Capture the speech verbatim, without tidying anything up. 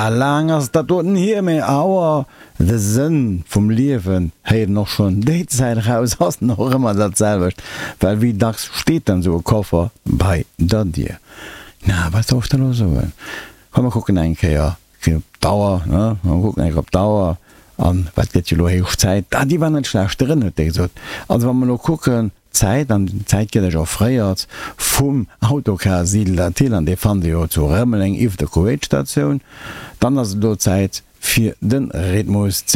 Laang ass dat doten hier, mee awer de Sënn vum Liewen héiert een och schonn déi Zäit eraus, ass en och ëmmer dat selwecht, well wéi dacks steet dann esou e Koffer bei der Dier? Na, wat soll ech der elo soen? Komm mer kucken eng Kéier op d'Auer, ne? Mer kucken eng Kéier op d'Auer an wat gëtt jo elo héich Zäit. Ah, déi war net schlecht drën, huet dee gesot. Also wa mer elo kucken, d'Zäit, an d'Zäit gëtt eech offréiert vum Autocar Siedler Thill, an dee fannt Dir jo zu Rëmeleng iwwer der Kuwait-Statioun, dann ass et elo Zäit fir de Rhythmus ze.